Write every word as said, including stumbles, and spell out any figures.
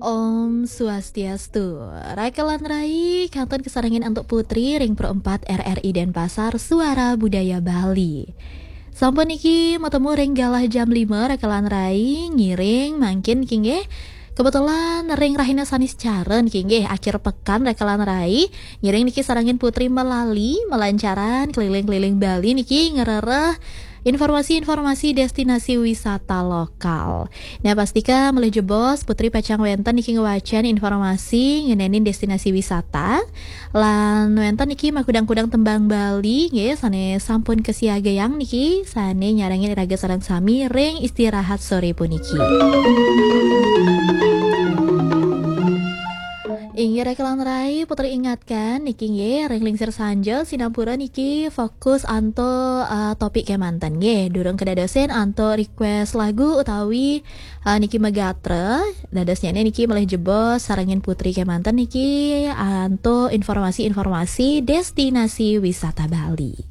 Om Swastiastu. Rakelan rai, kantun kasarengin antuk Putri ring Pro empat R R I Denpasar, Suara Budaya Bali. Sampun niki matemu ring galah jam lima, rakelan rai, ngiring mangkin niki nggih. Kebetulan ring rahina Saniscara niki nggih, akhir pekan, rakelan rai, ngiring niki sarengin Putri malali malancaran keliling-keliling Bali niki, ngrereh informasi-informasi destinasi wisata lokal. Nah, pastika malih jebos Putri pacang wenten niki ngwacen informasi ngenenin destinasi wisata. Lan wenten niki makudang-kudang tembang Bali nggih, sane sampun kasiagayang niki, sane nyarengin iraga sareng sami ring istirahat sore puniki. Inggih, rakelan rai, Putri ingatkan niki nggih, ring lingsir sanja sinampura niki fokus antuk, eh, topik kemanten nggih. Durung kedadosin antuk request lagu utawi, eh, niki magatra. Dadosnyane niki malih jebos sarengin Putri kemanten niki antuk informasi-informasi destinasi wisata Bali.